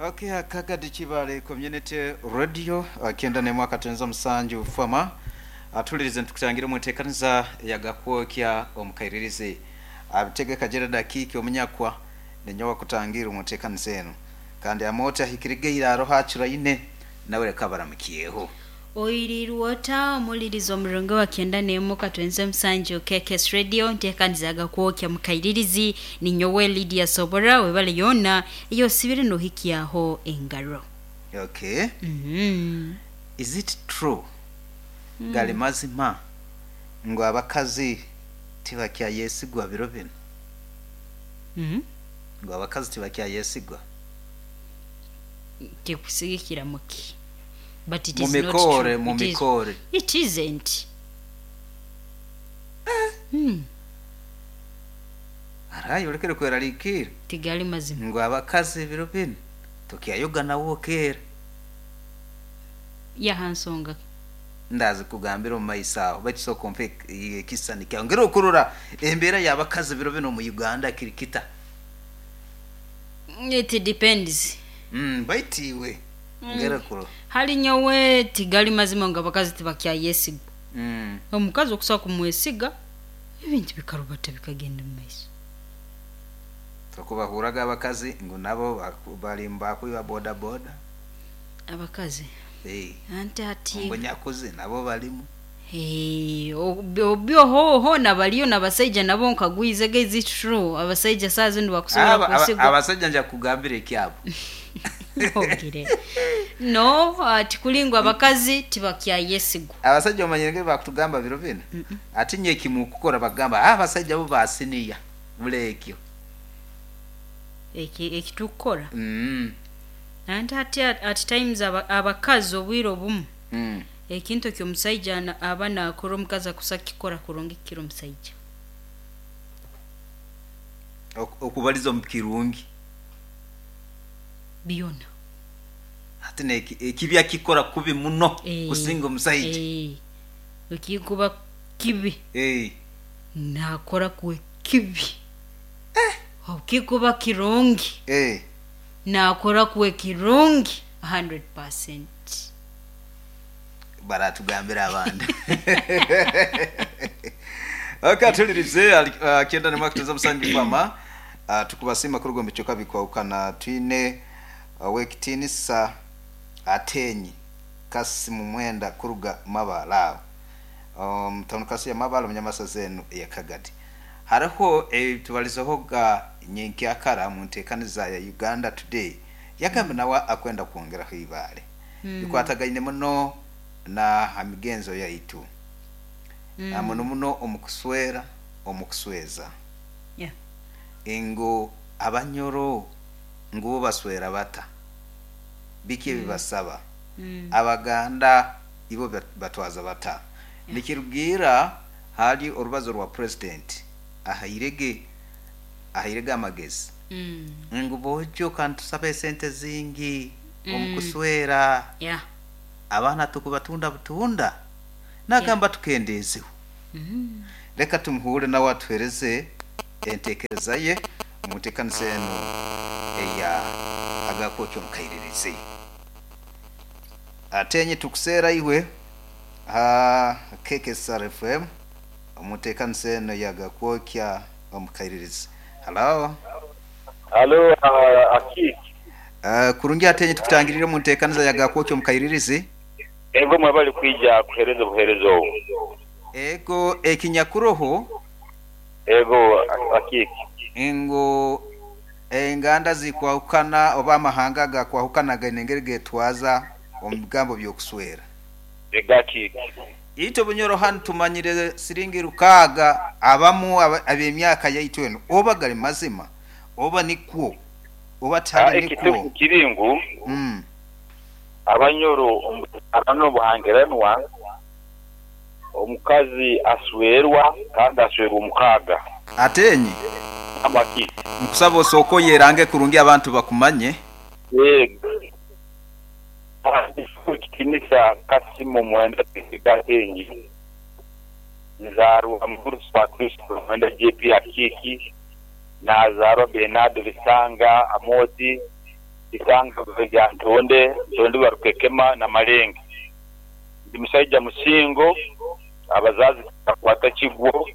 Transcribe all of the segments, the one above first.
Okay, Kagadi Kibaale Community Radio 91.7 Fama atulirize ntukutangira omu nteekaniza eyagakwokya omu kairirizi abitegeka Gerald Akiiki omunyakwa ninyowe akutangira omu nteekaniza enu kandi amooti ahikirigeire aroho acuraine nawe leka baramukyeho. Oirirwe ota omulirizi omurungi owa 91 katwenze musanju KKS Radio ntekaniza agakwokya mukairirizi ninyowe Lydia Sobora webale yoona eyosibire nohikyaho engaro. Okay. Is it true gali mazima ngu abakazi tibakyayesigwa biro binu? Ngu abakazi tibakyayesigwa? Tikusigikira muki? But it is not Mumikoore, true. It is, mumikoore. it isn't. Arayi olekere kweraliikirra Tigali mazima. ngu abakazi biro binu tokyayoga nawe okeera. Yaha nsonga ki? Ndaza kugambira omu maiso aho baitu sooka ompe ekisisani kyawe ngeri okurora embeera y'abakazi biro binu omu Uganda kiri kita. It depends. Baitu iwe ngeri okurora. Hali nyowe tigali mazima ngu abakazi tibakyayesigwa. Omukazi okusobola kumwesiga, ebintu bikarubata bikagenda omu maiso. Tokubahurraga abakazi ngu nabo bali mubakwiba boda boda? Abakazi? Anti hati. Omunyakuzi nabo balimu. Obyo hoona baliyo n'abasaija nabo nkagwize is it true abasaija saaha zinu bakusobola kwesigwa? Abasaija nja kukugambira ekyabo. Ogire. No, tikuli ngu abakazi tibakyayesigwa. Abasaija omanyire engeri bakutugamba biro binu? Ati nyowe eki mukukora bakugamba, abasaija bo ba siniya buli ekyo. Eki tukukora? Anti hati at times abakazi obwire obumu ekintu eki omusaija aba naakora omukazi akusa kukikora kurungi kukira omusaija. Okubaliza omu kirungi. Byona. Hati ekibi akikora kubi muno kusinga omusaija. Ekikuba kibi naakora kuwe kibi. Obu kikuba kirungi naakora kuwe kirungi 100%. Baratugambira abandi. Okay, atulirize 91.7 Fama tukubasiima kuruga omu bicweka bikwahukana twine ow'ekitiinisa Atenyi Kasimu Mwenda kuruga Mabale aho omu tawuni kanso ya Mabale omu nyamasaza enu eya Kagadi. Haroho ebitubalizehoga nyenkyakara omu nteekaniza ya Uganda Today yagamba nawe akwenda kwongeraho ibaale. Bikwatagaine muno na ha migenzo yaitu na muno muno omu kuswera, omu kusweza. Ngu abanyoro ngu bo baswera bata? Biki ebi basaba? Abaganda ibo batwaza bata? Nikirugiirra hali orubazo rwa Purezidenti ahairege ahairege amagezi ngu bojo ka nitusaba esente zingi omu kuswera abaana tukubatunda butunda nagamba tukendeezeho. Leka tumuhuurre nawe atuheereze enteekereza ye omu nteekaniza enu eya Agakwokya omu Kairirizi. Atenye tukuseera iwe ha KKSR FM omu nteekaniza enu eya Agakwokya omu Kairirizi. Halo. Halo Akiiki. Kurungi Atenye tukutangiriire omu nteekaniza ya Agakwokya omu Kairirizi. Ego mwebale kwija kuhereza obuhereza obu. Ego ekinyakuroho. Ego Akiiki. Ngu enganda zikwahukana oba amahanga agakwahukana gaine engeri getwaza omu bigambo by'okuswera. Ego Akiiki. Itwe Bunyoro hanu tumanyire siringi 600 abamu ab'emyaka yaitu enu oba gali mazima oba nikwo oba tihali Ekitufu nikwo. kiri ngu Abanyoro omu buzaarana n'obuhangiranwa, omukazi aswerwa kandi aswerwa omukaaga. Atenye, Gamba ki? nkusaba osooke oyerange kurungi abantu bakumanye. Yego. Ow'ekitiinisa Kasimu Mwenda Twesiga Atengi, nzaarwa Mugurusi wa Kristo Mwenda JP Akiiki, naazaarwa Bernardo Bisanga Amooti. Isanga lya Ntonde, Ntonde Barukekema na Malenge. Ndi musaija musingo, abazazi bakwata kigwo,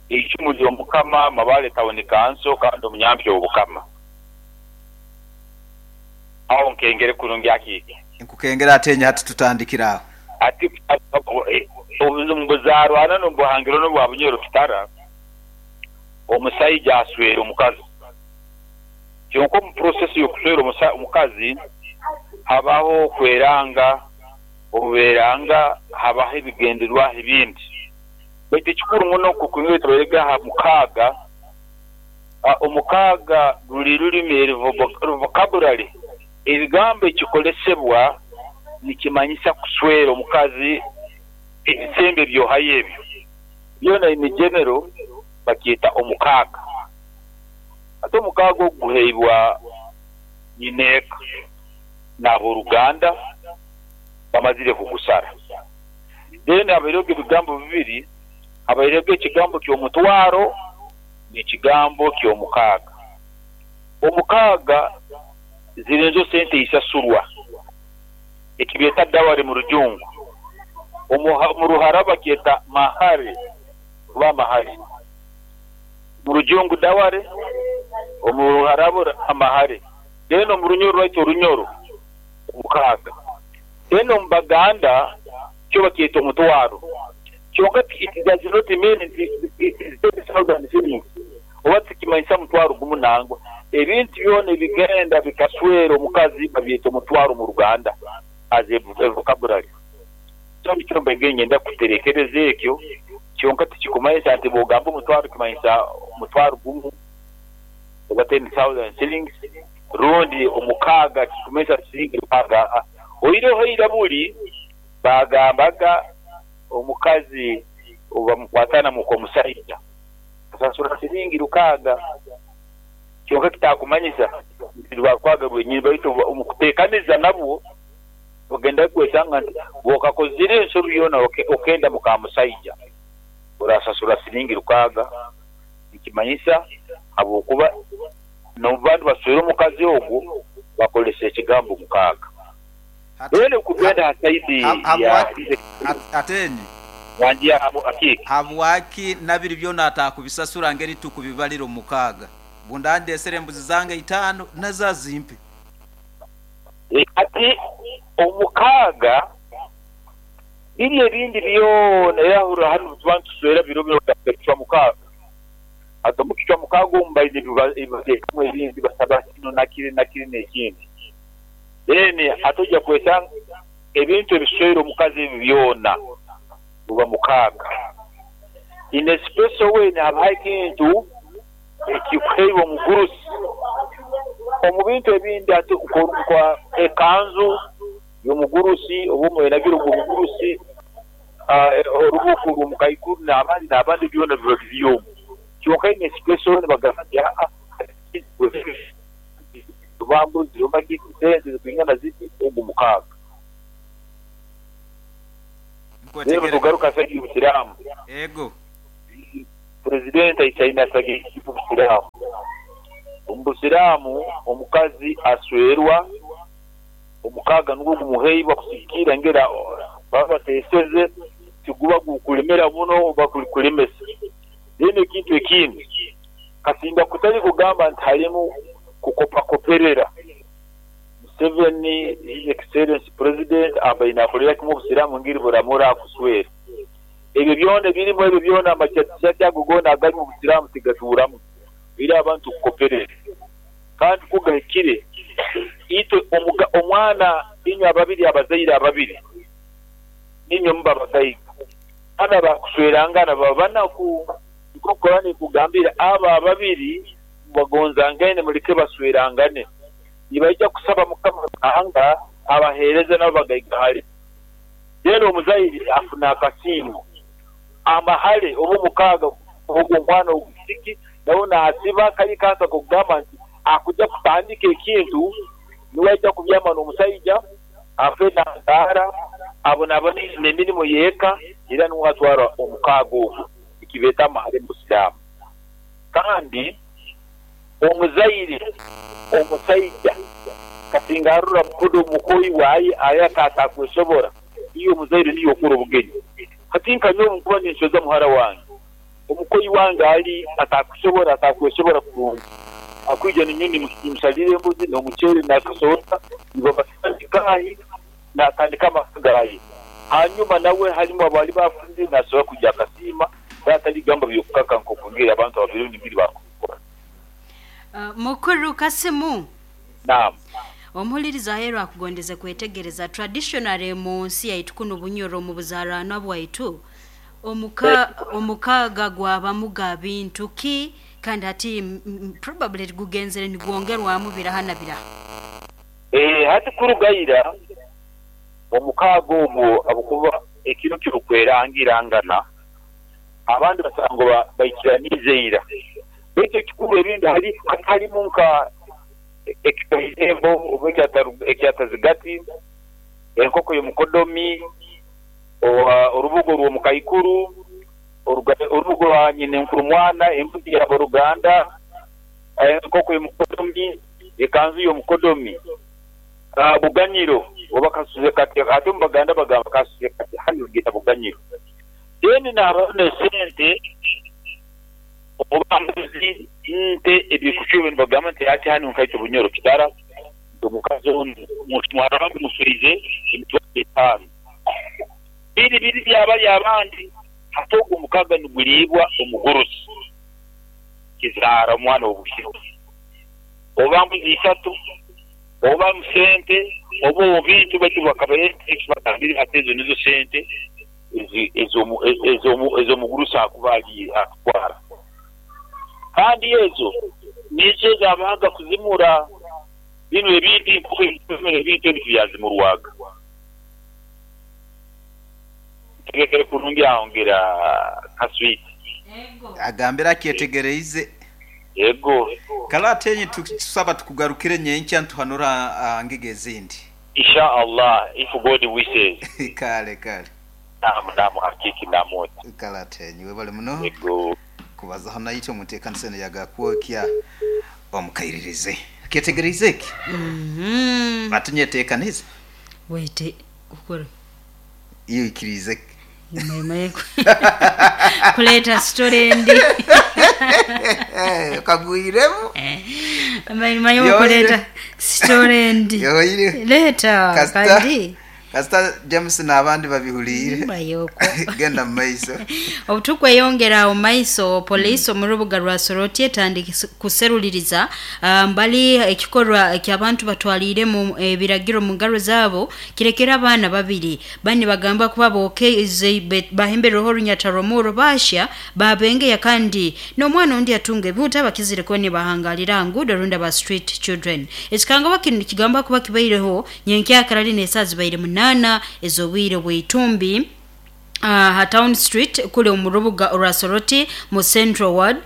eicumu ly'Omukama, Mabale Town Council kandi omunyampya Obukama. Awo nkengere kurungi akiike. Nkukengera ate hati tutandikire aho. Ati omu buzaarwana n'omu buhangirano bwa Bunyoro Kitara, omusaija aswera omukazi. Kyonka omu process y'okuswera omukazi habaho okweranga, obuberanga habaho ebigendererwaho ebindi. Baitu ekikuru muno nk'oku tubaire aha mukaaga, omukaaga ruli rulimi eri vocabulary, ebigambo ekikolesebwa nikimanyisa kuswera omukazi ebisembo ebyohayo ebyo. Byona in general bakyeta omukaaga. Ate omukaaga ogwo guheibwa nyineeka n'aboruganda bamazire kugusara. Then habaireho ebigambo bibiri, habaireho ekigambo ky'omutwaro n'ekigambo ky'omukaaga. Omukaaga ziri nizo sente eisasurwa, ekibeeta dowry mu Rujungu. Omu Ruhara bakyeta mahare oba mahare. Mu Rujungu dowry, omu Ruharabu amahare. Then omu Runyoro rwaitu Orunyoro omukaaga. Then omu Baganda kyo bakyeta omutwaro. Kyonka it does not mean nti it is 10,000 shillings oba tikimanyisa mutwaro gumu nangwa. Ebintu byona ebigenda bikaswera omukazi babyeta omutwaro mu Ruganda as a vocabulary. So nikyo mbaire nyenda kuterekereza ekyo, kyonka tikikumanyisa nti bwogamba omutwaro kimanyisa omutwaro gumu oba 10,000 shillings rundi omukaaga kikumanyisa shilingi rukaaga. Oihireho eira buli bagambaga omukazi obamukwatana muka omusaija asasura shilingi rukaaga. Kyonka kitakumanyisa nti rwa rukaaga rwenyini, baitu omukuteekaniza nabwo ogenda kwesanga nti bw'okakozire ensobi yoona okenda muka musaija orasasura shilingi rukaaga. Nikimanyisa habwokuba n'obubantu baswere omukazi ogwo bakolesa ekigambo mukaaga. Then okugenda ha saidi ya Atenyi wangi akiike. Habwaki nabiri byona atakubisasura ngeri tukubibalira omukaaga? Bundandesere embuzi zange 5 nazo zimpe. Ati omukaaga biri ebindi byona era hanu tuba nituswera biro biro kichwa mukaaga. Ate omu kichwa mukaaga omu baine ebibateekamu ebindi basaba kino nakiri nakiri n'ekindi. Then ate ojja kwesanga ebintu ebiswera omukazi ebyo byona buba mukaaga. In a special way nihabaho ekintu ekikuheibwa omugurusi. Omu bintu ebindi ate nka ekanzu y'omugurusi oba omwenagiro gw'omugurusi, orubuku rw'omukaikuru n'abandi n'abandi byona biba biri omwo. Kyonka in a special way nibagamba nti aa oba mbuzi oba sente zikwingana ziti ogu mukaaga. Rero tugaruka saidi y'Obusiraamu. Ego. President aisaine asagike Obusiraamu. Omu Busiraamu omukazi aswerwa omukaaga nugwo gumuheibwa kusigikiira ngera baba bateeseze tiguba gukulemera muno oba kulemesa. Then ekintu ekindi kasinga kutali kugamba nti harimu kukopakoperera. Museveni His Excellency President abaine akolera kimwe Obusiraamu ngeri buramura akuswera. Ebyo byona ebirimu ebyo byona amakyati ago goona agari mu Busiraamu tigatuuramu. Biri abantu kukoperera. Kandi kugahikire itwe omwana inywe ababiri abazaire ababiri ninywe muba abagaiga. Abaana bakuswerangana baba banaku. Nikwo Korani ekugambira abo ababiri bagonzangaine muleke baswerangane. Nibaija kusaba Mukama Ruhanga abaheereze nabo bagaigahale. Then omuzaire afuna akasiimo. Amahale oba omukaaga ogwo omwana ogw'ekisiki nawe naasiba kali kantu ak'okugamba nti akuja kutandika ekintu niwe aija kubyama n'omusaija afe nazaara abonabone n'emirimo y'eka era niwe atwara omukaaga ogwo ekibeeta amahale mu Busiraamu. Kandi omuzaire omusaija Hati ngarora mukodo omukoyi waye ayaka atakwesobora, iyo omuzaire niyo okora obugenyi. Hati nka nyowe nkuba ninsweza muhara wange, omukoyi wange ali atakusobora, atakwesobora kurungi, akwija ninyowe nimusalira embuzi n'omuceeri n'akasoda, nibabasaba natandika amaka gaye. Hanyuma nawe halimu abali bafunire nasobora kwija akasiima, ataligamba byokukaka nk'okungeri abantu ababiri ngeri bakukora. Mukuru Kasimu. Naam. Omuhuliriza aheeru akugondeze kwetegereza traditionally mu nsi yaitu kuno Bunyoro mu buzaranwa bwaitu omukaga gwabamu ga bintu ki, kandi hati probably gugenzere nigwongerwamu biraha na biraha. Hati kurugaira omukaga ogwo abukuba ekiro kirukwerangirangana abandi basanga baikiraniize ira, baitu ekikuru ebindi halimu nka ekikairembo oba ekyatazigati, enkoko y'omukodomi, orubugo rw'omukaikuru, orubugo rwa nyina enkuru mwana, embuzi y'aboruganda, enkoko y'omukodomi, ekanzu y'omukodomi, buganyiro oba kasuze kati, ate omu Baganda bagamba kasuze kati, hanu bagita buganyiro. Then nabaho n'esente oba mbuzi, nte, ebikucwebwe nibagamba nti ati hanu nkaitwe Bunyoro kitara, omukazi onu muhara wange musweize emitwaro 5. Biri biri byabali abandi, hati ogwo omukaga niguliibwa omugurusi kizaara omwana w'obwishiki, oba mbuzi 3, oba musente, oba obintu baitu bakaba ate ezo nizo sente ez'omugurusi akuba ali atwara. Kandi ezo nizo ezabahaga kuzimura bino ebintu ebintu ebyo byazimurwaga. Tegekere kurungi aho ngira kaswiti. Agambira akyetegereize. Yego. Kala atenye tusaba tukugarukire nyenkya ntuhanura ngige ezindi. Insha Allah, if God wishes. Kale kale. Namu hakiki namu. Kala atenye webale muno. Yego. Kubazaho naitwe omuteekanisano yagakwokya omukairirize. Kyetegereize eki? Atinyeteekanize. Wete kukora. Iyo ikirize. Kuleta story ndi. Kagwiremu. Mayo kuleta story ndi. Leta kandi. Kasita James n'abandi babihulire. Genda mu maiso. Obutukweyongera mu maiso, poliisi omu rubuga rwa Soroti etandika kuseruliriza mbali ekikorwa eky'abantu batwaliiremu ebiragiro mu ngaro zaabo kirekera abaana babiri bani bagamba kuba bookeize bahembereho orunyata rw'omuro basha babengeya, kandi n'omwana ondi atunga ebihuta bakizire kuba nibahangalira ngudo runda ba street children. Ekikangabwa kinu kigamba kuba kibaireho nyenkyakarari n'esaaha zibaire 8 ez'obwire bw'itumbi ha Town Street kule omu rubuga orwa Soroti mu Central Ward.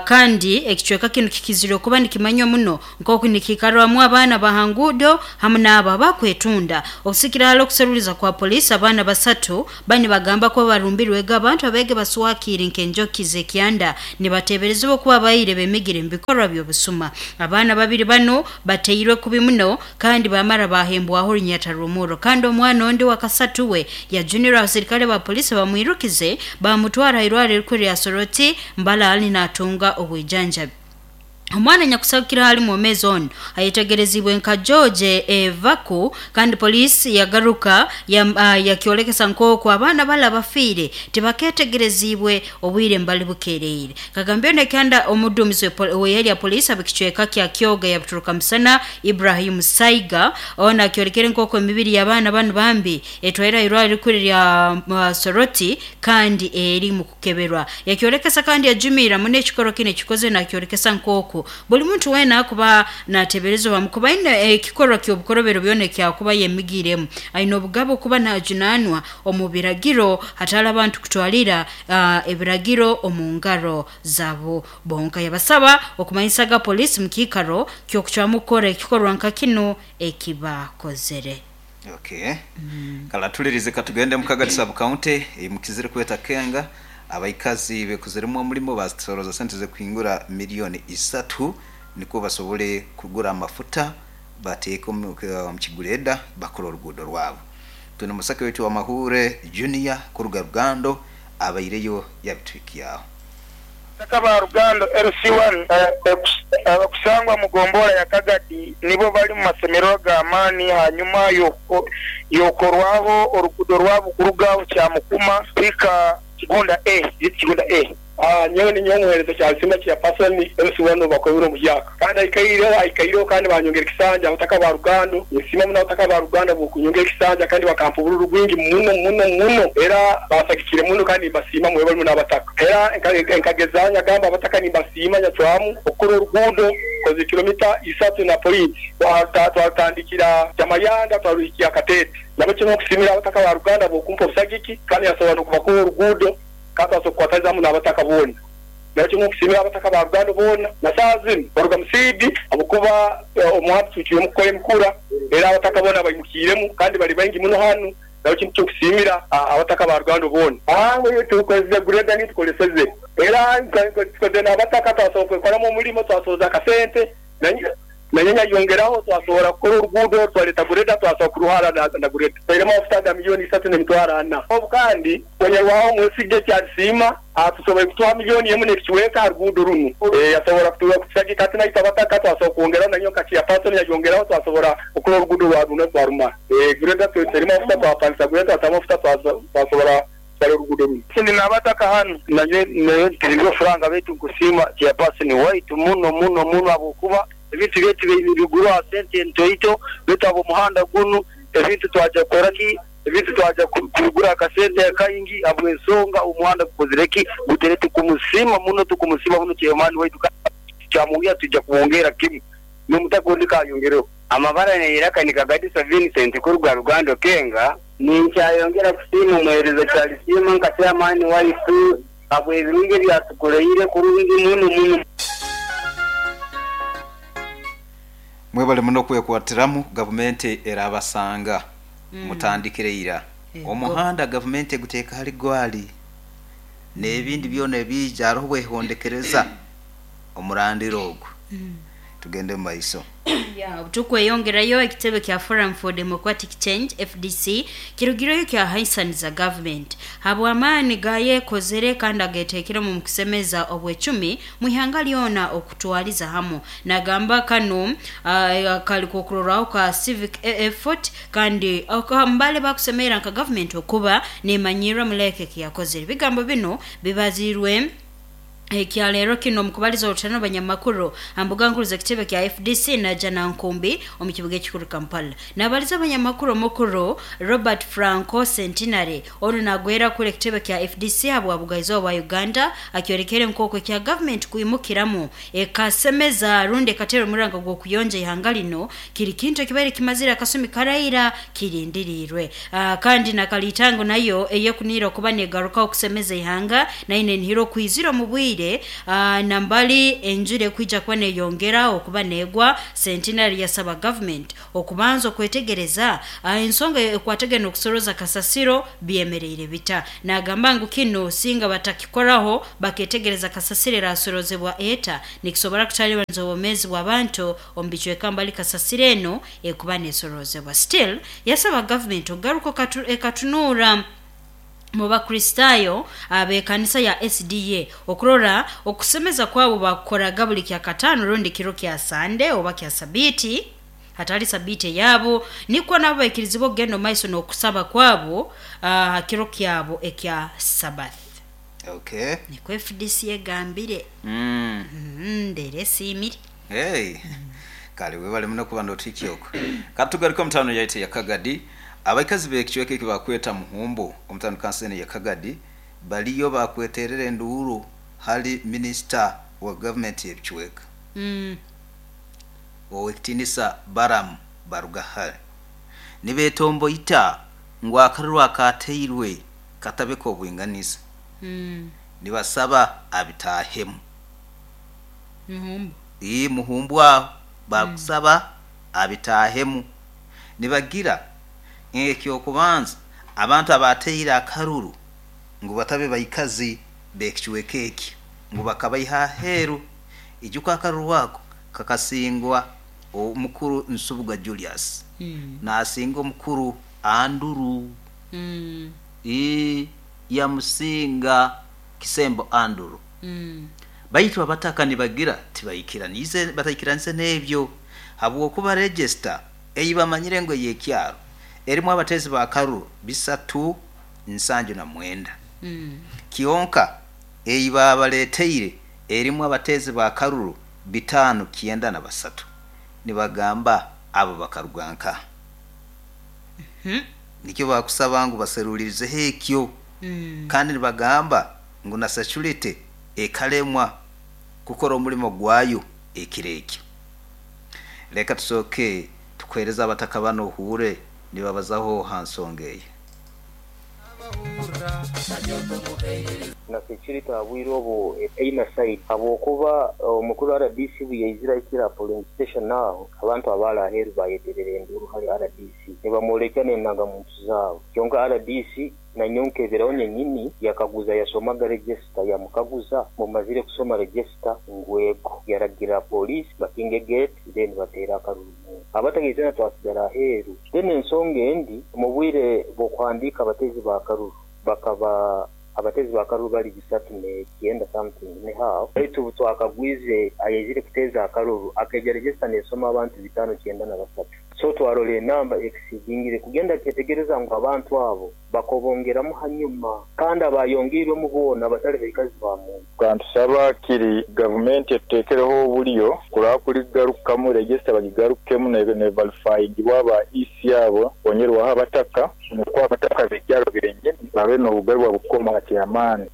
Kandi ekicweka kinu kikizire kuba nikimanywa muno nk'oku nikiikarwamu abaana bahangudo hamu n'abo abakwetunda. Okusikira hali okuseruliza kwa poliisi, abaana 3 bani bagamba kuba barumbirwega abantu abege baswakire nk'enjoki z'ekyanda nibateeberezebwa kuba baire bemigire mu bikorwa by'obusuma. Abaana 2 bano bateirwe kubi muno kandi bamara bahembwaho orunyata rw'omuro, kandi omwana ondi wa kasatu we yajunirwa abasirikale ba polisi bamwirukize bamutwara irwaliro rikuru lya Soroti mbala ali natunga obwijanjabi. Omwana nyakusakira hali mwomezi ono ayetegerezibwe nka George Evaku, kandi polisi yagaruka yakyolekesa nk'oku abaana bala bafiire tibaketegerezibwe obwire mbali bukereire. Kagambyo nekanda omudumizi w'eyali ya polisi ab'ekicweka kya Kyoga yabuturuka musana Ibrahim Saiga ona akyolekere nk'oku emibiri y'abaana banu bambi etwaira irwaliro rikuru lya Soroti kandi eri mu kukeberwa. Yakyolekesa kandi yajumira muno ekikoro kino ekikoze nakyolekesa nk'oku buli muntu weena akuba nateberezebwa mukuba aine ekikorwa ky'obukorobero byona ekyakuba yemigiremu aine obugabo kuba najunanwa omu biragiro hatali abantu kutwalira ebiragiro omu ngaro zabo bonka. Yabasaba okumanyisaga polisi mu kiikaro ky'okucwamu kukora ekikorwa nka kino ekibakozere. Okay. Kala tulirize katugende Mukagati sub county mukizire kweta Kenga abaikazi bekuziremu omulimo basoroza sente ze kuhingura milioni 3 niko basobole kugura amafuta. Bateeke omu kigureda bakora oruguudo rwabo. Twine omusake waitu wa Mahure Junior kuruga Rugando abaireyo yabituhikyaho. Abataka ba Rugando LC1 abakusangwa mu gombolola ya Kagadi nibo bali mu masemererwa g'amaani hanyuma y'okukorwaho oruguudo rwabo kuruga Kyamukuma kuhika Kigunda A, Kigunda A. Nyowe ninyowe omuheereza Kyalisimba Chairperson LC1 bakoibura omuhyaka kandi aikaireho aikaireho kandi banyongera ekisanja abataka ba Rugando. Ninsiima muno abataka ba Rugando habw'okunyongera ekisanja kandi bakampa obururu bwingi muno muno muno, era bansagikire muno kandi nimbasiima mwebale muno abataka. Era nkageza nyagamba abataka nimbasiima, nyacwamu okukora oruguudo koze kilomita 3 na point, twarutandikira Kyamayanda twaruhikya Katete. Nabo kinu nkusiimira abataka ba Rugando habw'okumpa obusagiki kandi nyasobora n'okubakora oruguudo kandi twasobora kukwataniza hamu n'abataka boona. Nabo kinu nkusiimira abataka ba Rugando boona na saaha zinu baruga musiidi habwokuba omuhanda tucwiremu kukora emikura, era abataka boona baimukiiremu kandi bali baingi muno hanu. Nabo kintu ky'okusiimira abataka ba Rugando boona. Tukozese gureda niyo tukoleseze, era tukozere n'abataka twasobora kwekoramu omulimo, twasohoza akasente nanye nyayongeraho twasobora kukora oruguudo, twaleeta gureda twasobora kuruhara na gureda. Tutairemu amafuta ga 3,400,000. Obu kandi onyarwaho Mwesige Kyalisiima atusoboire kutuha 1 n'ekicweka ha ruguudo runu. Yasobora kutusagika ati naitwe abataka twasobora kwongeraho nanyowe nka chairperson yayongeraho twasobora kukora oruguudo rwa runo twarumara. Gureda tutairemu amafuta twapangisa gureda twatamu amafuta twasobora kukora oruguudo runo. Ndi n'abataka hanu nayo ntirirwe furanga baitu nkusiima chairperson waitu muno muno muno habwokuba ebintu byaitu bigurwa sente ntoito, baitu habw'omuhanda gunu ebintu twaja kukora ki, ebintu twaja kubigura akasente akaingi habw'ensonga omuhanda gukozire ki, gutere. Tukumusiima muno, tukumusiima muno chairman waitu, kyamwongera tujja kumwongera kimu n'omutaka ondi kayongereho. Amabara neiraka ni Kagadisa Vincent kuruga Rugando Kenga. Ninkyayongera kusiima omuheereza Kyalisiima nka chairman waitu habw'ebirungi ebyatukoreire kurungi muno muno. Mwebale muno kwekwatiramu, gavumenti erabasanga mutandikire ira. Omuhanda gavumenti eguteeka hali gwali n'ebindi byona ebiija hariho bwehondekereza omurandiro ogwo. Tugende mu maiso. Ya, tukweyongerayo ekitebe kya Forum for Democratic Change FDC kirugireyo kyahaisaniza government habw'amaani gayekozere kandi ageteekere mu kusemeza obwecumi mu ihanga lyona okutwaliza hamu. Nagamba kano kali kokurorwaho ka civic effort kandi mbale bakusemerera nka government okuba nemanyirwa muleke kiyakozere. Ebigambo bino bibazirwe ekyaleero kino mukubaliza olutano banyamakuru ambuga nkuru z'ekitebe kya FDC naja Nankumbi omu kibuga ekikuru Kampala. Nabaliza abanyamakuru omukuru Robert Franco Centenary ono nagwera kule ekitebe kya FDC habwa bugaizi bwa Uganda akyorekere nk'oku ekya government kwimukiramu ekasemeza rundi ekatera omuranga gw'okuyonja ihanga lino kiri kintu ekibaire kimazire akasumi karaira kirindirirwe. Kandi nakalitango nayo eyekunira okuba negaruka okusemeza ihanga naine nihiro kwizira omu bwire nambali enjure kwija kuba neyongera okuba negwa. Centenary yasaba government okubanza okwetegereza ensonga ekwategana okusoroza kasasiro byemereire bita. Nagamba ngu kino singa batakikoraho baketegereza kasasiro erasorozebwa eta nikisobora kutalibaniza obwomeezi bw'abantu omu bicweka mbali kasasiro eno ekuba nesorozebwa. Still yasaba government okugaruka ekatunuura mu Bakristaayo ab'ekanisa ya SDA okurora okusemeza kwabo bakukoraga buli kya katano rundi kiro kya Sande oba kya Sabiiti hatali Sabiiti eyabo, nikwo nabo baikirizibwa okugenda omu maiso n'okusaba kwabo ha kiro kyabo ekya Sabbath. Nikwo FDC egambire. Ndeera esiimire. Hey. Kale webale muno kuba notuhikya okwo. Katugaruke omutaano yaitu ya Kagadi. Abaikazi b'ekicweka eki bakweta Muhumbu omutaano kansene ya Kagadi baliyo bakweterera enduuru hali minisita wa gavumenti y'ebicweka ow'ekitinisa Balaam Barugahare. Nibetomboita ngu akaruru akateirwe katabe k'obwinganiza. Nibasaba abitaahemu. Muhumbu. Ii Muhumbu aho bakusaba abitaahemu. Nibagira ekyokubanza abantu abateire akaruru ngu batabe baikazi b'ekicweka eki ngu bakabaiha aheeru. Ijuka akaruru ako kakasingwa Omukuru Nsubuga Julius nasinga omukuru Anduru. Yamusinga Kisembo Anduru. Baitu abataka nibagira tibaikiranize, bataikiranize n'ebyo habwokuba register ei bamanyire ngu ey'ekyaro erimu abateezi ba karuru 379, kyonka ei babaleeteire erimu abateezi ba karuru 593. Nibagamba abo bakaruga nka nikyo bakusaba ngu baserulirizeho ekyo. Kandi nibagamba ngu na security ekalemwa kukora omulimo gwayo ekiro ekyo. Leka tusooke tukuheereze abataka banu ohuure nibabazaho ha nsonga eyo. Na security aha bwire obu etaina side habwokuba omukuru rdc obu yaizire ahikire aha polling station aho, abantu abaali aheeru bayeterera enduuru hali rdc nibamworekya n'endanga-muntu zaabo. Kyonka rdc nanyowe nkeberaho nyenyini yakaguza yasomaga register, yamukaguza, mumazire kusoma register? Ngu ego. Yaragira police bakinge gate then bateere akaruru munda. Abataka itwena twasigara aheeru. Then ensonga endi, omu bwire bw'okuhandiika abateezi ba karuru bakaba abateezi ba karuru bali 309 something ne half, baitu obu twakagwize ayaizire kuteeza akaruru akaija register nesoma abantu 593. So twarora enamba exceedingire kugenda kyetegereza ngu abantu abo bakobongeramu hanyuma kandi abayongeirwemu boona batali baikazi ba muntu. Kantusaba kiri gavumenti etuteekereho obulyo kuraba kuligarukamu register bagigarukemu neverifyingibwa aba EC abo bongerwaho abataka nukwo abataka b'ekyaro benyini babe n'obugabe bwabukoma ha chairman.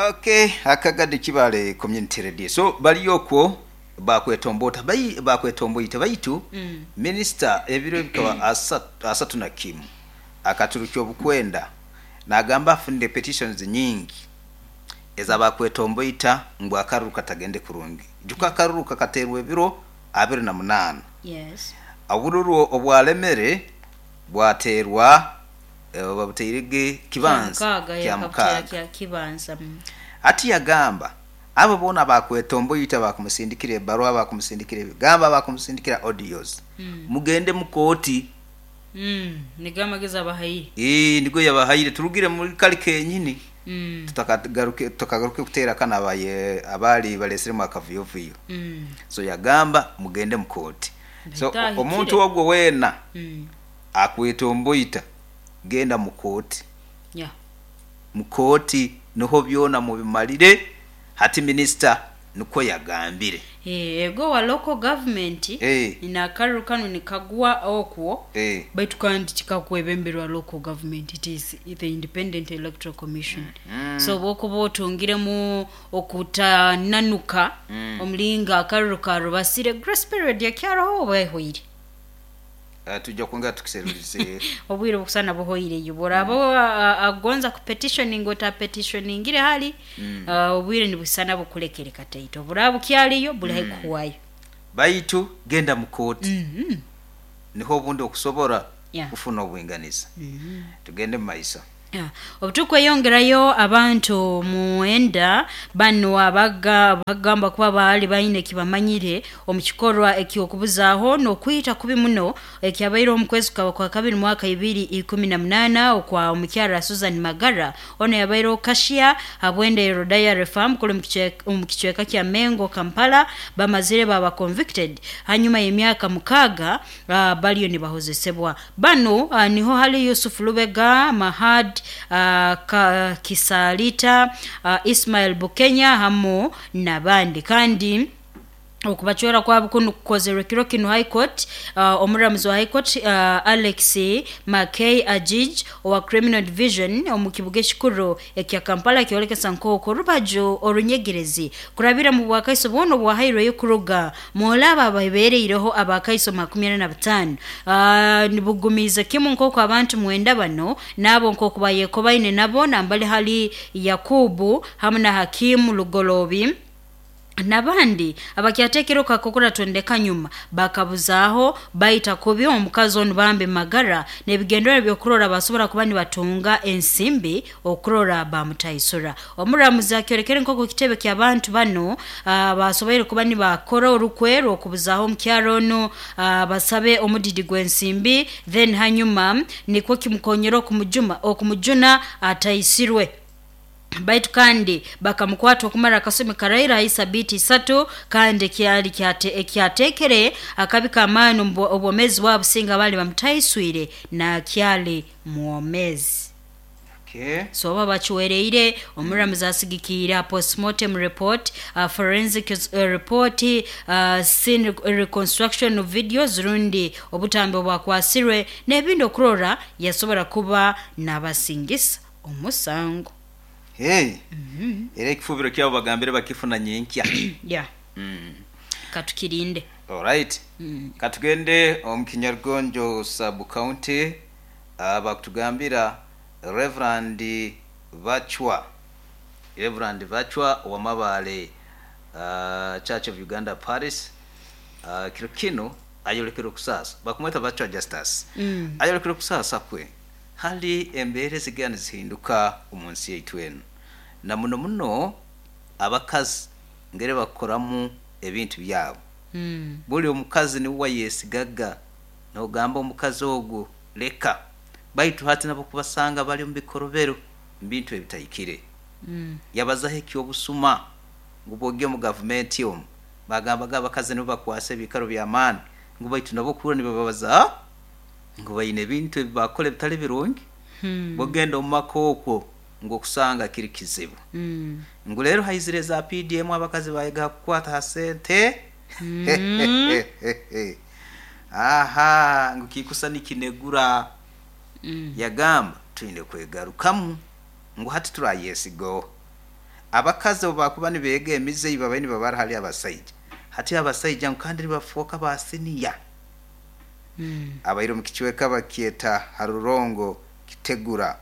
Okay, Akagadi Kibale Community Radio. So bali okwo bakwetombota bai bakwetomboita baitu minisita ebiro bikaba 31 akaturukya obukwenda nagamba afunire petitions nyingi ez'abakwetomboita ngu akaruru katagende kurungi. Ijuka akaruru kakateerwa ebiro 28. Obururu obwalemere bwateerwa babuteirege kibanza kya mukaaga. Hati yagamba abo boona abakwetomboita bakumusindikira ebaruha, bakumusindikira ebigambo, bakumusindikira audios, mugende mu kooti. Nigo amagezi abahaire. Nigo yabahaire turugire muri kali kenyini tutakagaruke kuteera kano abaali balesiremu akavuyovuyo. So yagamba mugende mu kooti. So omuntu ogwo weena akwetomboita genda mu kooti. Mu kooti niho byona mubimalire. Hati minisita nikwo yagambire. Ego wa local government n'akaruru kanu nikagwa okwo, baitu kandi tikakwebemberwa local government, it is the Independent Electoral Commission. So obwokuba otungiremu okutananuka omulingo akaruru karubasire, grace period ekyaroho oba ehweire. Tujja kwongera tukiserulize. Obwire obukusana buhoireyo. Bworaba agonza kupetitioninga otapetioningire hali, obwire nibusana bukulekere kataito. Oburaba bukyaliyo buli haihi kuhwayo. Baitu genda mu kooti niho obundi okusobora kufuna obwinganiza. Tugende mu maiso. Obutukweyongerayo abantu mwenda banu abagamba kuba baali baine ekibamanyire omu kikorwa eky'okubuzaaho n'okwita kubi muno ekyabaireho omu kwezi kwa kabiri mwaka 2018 okwa omukyara Susan Magara. Ono yabaireho cashier habwendero Dairy Farm kuli omu kicweka kya Mengo, Kampala. Bamazire baba convicted hanyuma y'emyaka 6 baliyo nibahozesebwa. Banu niho hali Yusuf Lubega, Mahad Kisalita, Ismail Bukenya hamu n'abandi. Kandi okubacwera kwabo kunu kukozerwe kiro kinu High Court, omuramuzi wa High Court Alex Mackay Ajij owa Criminal Division omu kibuga ekikuru ekya Kampala kyolekesa nk'oku orubaju orunyegerezi kurabira mu bwakaiso bwona obwahairweyo kuruga mwolaba ababeereireho abakaiso 45, nibugumiiza kimu nk'oku abantu mwenda bano n'abo nk'oku bayekobaine nabo nambali hali Yakubu hamu na Hakimu Lugolobi. Nabandi abakyatekere okakokora tondeka nyuma bakabuzaaho baita kubi omukazi onu bambe magara n'ebigendero by'okurora basobora kuba nibatunga ensimbi okurora bamutaisura. Omuramuzi akyorekere nk'oku kitebe ky'abantu bano basoboire kuba nibakora orukwe rw'okubuzaaho omukyaro onu, basabe omudidi gw'ensimbi, then hanyuma nikwo kimukonyera okumujuma okumujuna ataisirwe. Baitu kandi bakamukwata okumara akasumi karaira hai sabiiti 3, kandi kyali ekyatekere akabi k'amaani omu obwomeezi bwabo singa baali bamutaiswire nakyali mwomezi. Okay. So oba bakiwereire, omuramuzi asigikiire ha postmortem report, forensic report, scene reconstruction videos rundi obutambi obwakwasirwe n'ebindi okurora yasobora kuba nabasingisa omusango. Hey. Era ekifubiro kyabo bagambire bakifuna nyenkya. Yeah. Katukirinde. Alright. Katugende omu Kinyarugonjo sub county, bakutugambira Reverend Bachwa. Reverend Bachwa wa Mabale, Church of Uganda Paris, kiro kino ayolekere okusasa. Bakumweta Bachwa Justus. Ayolekere okusasa kwe hali embeera ezigenda nizihinduka omu nsi yaitu enu, na muno muno abakazi ngeri bakukoramu ebintu byabo. Buli omukazi niwe wayesigaga nogamba omukazi ogwo leka, baitu hati nabo kubasanga bali omu bikorobero mu bintu ebitahikire. Yabazaho eky'obusuma ngu bwogya omu gavumenti omu bagambaga abakazi nibo bakwasa ebiikaro by'amaani, ngu baitu nabo okuhurra nibababaza ngu baine ebintu ebi bakora ebitali birungi. Bwogenda omu maka okwo ngu okusanga kiri kizibu. Ngu leero haizire eza PDM abakazi bayega ha kukwata ha sente. Aha, ngu kikusa nikinegura. Yagamba twine kwegarukamu ngu hati turayesiga abakazi obu bakuba nibeega emize ei babaire nibabara hali abasaija. Hati abasaija ngu kandi nibafooka ba siniya. Abaire omu kicweka bakyeta Harurongo Kitegura,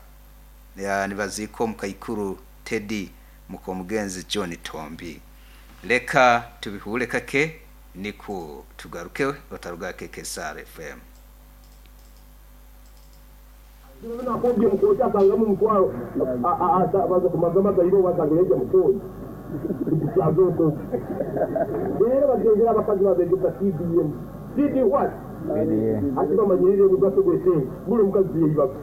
nibaziika omukaikuru Teddy mukomugenzi John Tombi. Leka tubihuure kake nikwo tugaruke otaruga KKSR FM. Nakobye mukooti asangamu omutwaro baza kumazama gaibe wasanga yajja mukooti azoko rero bagenzera abakazi babegesa CDM CD what ati bamanyirire omugaso gw'esente. Buli omukazi yeyibaga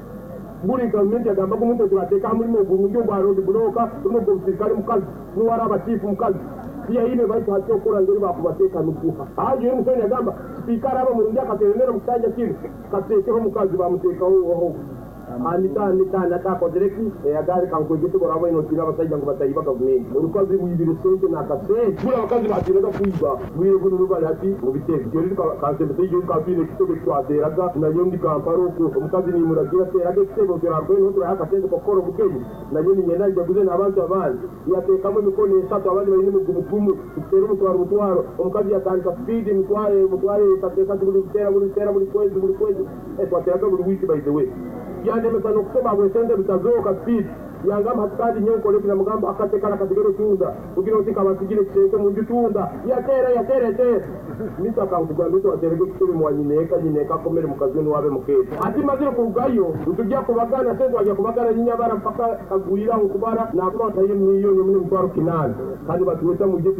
buli gavumenti agambaga omuntu oti bateeka mulimu ogurungi ogwa road block rundi ogw'obusirikale mukazi nuwara abachifu mukazi tiyaine, baitu hati okora ngeri bakubateeka nukuha ajo yeri Museveni agamba sipiika araba murungi akateremera omu kisanja kinu kateekeho omukazi, bamuteekaho oho anita anita anata akozire ki eyagaari kankwegese boraba inotiina abasaija ngu batayiba gavumenti orukazi rwibire sente n'akasente. Buli abakazi batiinaga kwiba bwire bunu bali hati mu bitebe yori kansembese ijo twine ekitebe twateraga nayo ndi Kampala okwo omukazi nimuragira teraga ekitebe oturakoye niho turaha akasente kokukora obugenyi nayo ninyenda njaguze n'abantu abandi yateekamu emikono 3 abandi baine emigumu tutera omutwaro mutwaro omukazi yatandika speed mitwaro mutwaro 3 3 buli tera buli tera buli kwezi buli kwezi twateraga buli wiki. By the way, yandemesa n'okusoma bwesente bitazooka speed yangamba hati kandi nyewe nkole namugamba akatekala kasigere tunda kugira oti kabasigire kisente munju tunda yatera yatera yatera mita kankugamba mito waterege kitebe mwanyineka nyineka akomere mukazi we niwabe mukete ati mazire kurugayo ntujya kubagana sente wajya kubagana nyinyabara mpaka kagwira nkubara nakuba ntaye miliyoni omwe 800,000 kandi batuweta mujye.